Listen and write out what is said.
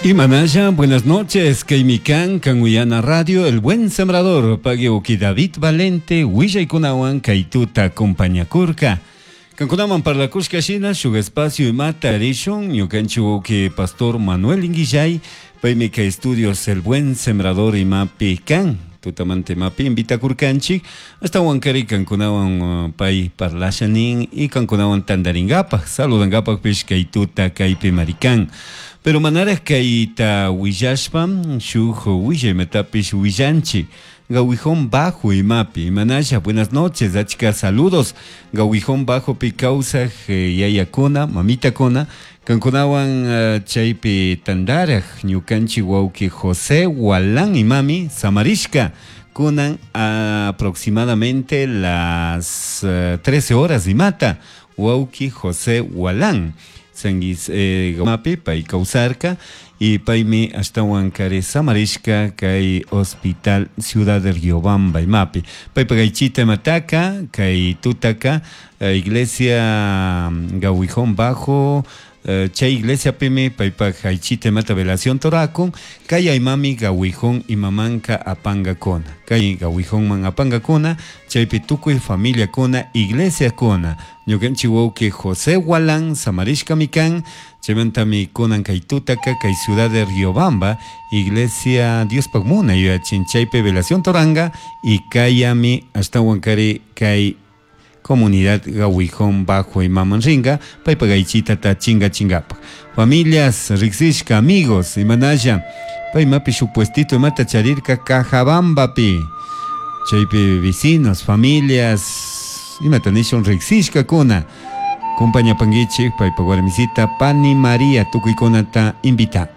Imanaya, buenas noches, Kaimikan, Kanuyana Radio, El Buen Sembrador, Pague David Valente, Willaykunawan, Kaituta, Compañacurca. Kankunaman parlakushka shina, shuk espacio imata rishun, ñukanchik wawqi Pastor Manuel Inguillay, paymi kay estudios El Buen Sembrador imapi kan, tutamanta imapi invitakurkanchik, ashtawankari kankunawan pay parlasha nin y kankunawan tantarinkapak, saludankapakpish kay tuta kaypi marikan. Pero manaraj kayta willashpa, shuk willaymatapis willanchik. Gawijón Bajo imapi, imanasha, buenas noches, achka saludos. Gawijón Bajo pi kawsaj yayakuna, mamitakuna, kankunawan chaypi tandaraj, ñukanchik wawqi José Walán imami, samarishka, kunan aproximadamente las 13 horas imata, wawqi José Walán. Sanguis mapi pay kawsarka y paymi ashtawan kari samarishka kay hospital Ciudad de Riobamba imapi. Paypa kaychita imataka, kay tutaka, iglesia Gawijón Bajo, chay iglesia pimi paypa kaychita imata velación torakun, kay aymami Gawijón imamanka apangakuna. Kay Gawijónman apangakuna, chaypi tukuy familiakuna, iglesiakuna. Ñukanchik wawqi José Walán samarishkami kan, chaymantami kunan kay tutaka kay ciudad de Riobamba, iglesia Diospaq munay yuyachin chaypi velación toranga y kayami ashtawan kari kay comunidad Gawijón Bajo imaman ringa, paypa kaychitata chinga chingapak. Familias, riksishka, amigos, imanalla, paymapi shuk puestito imata charirka Cajabambapi, chaypi vecinos, familias, imata nishun riksishkakuna, compañapankichik paypa warmisita Pani María tukuykunata invita.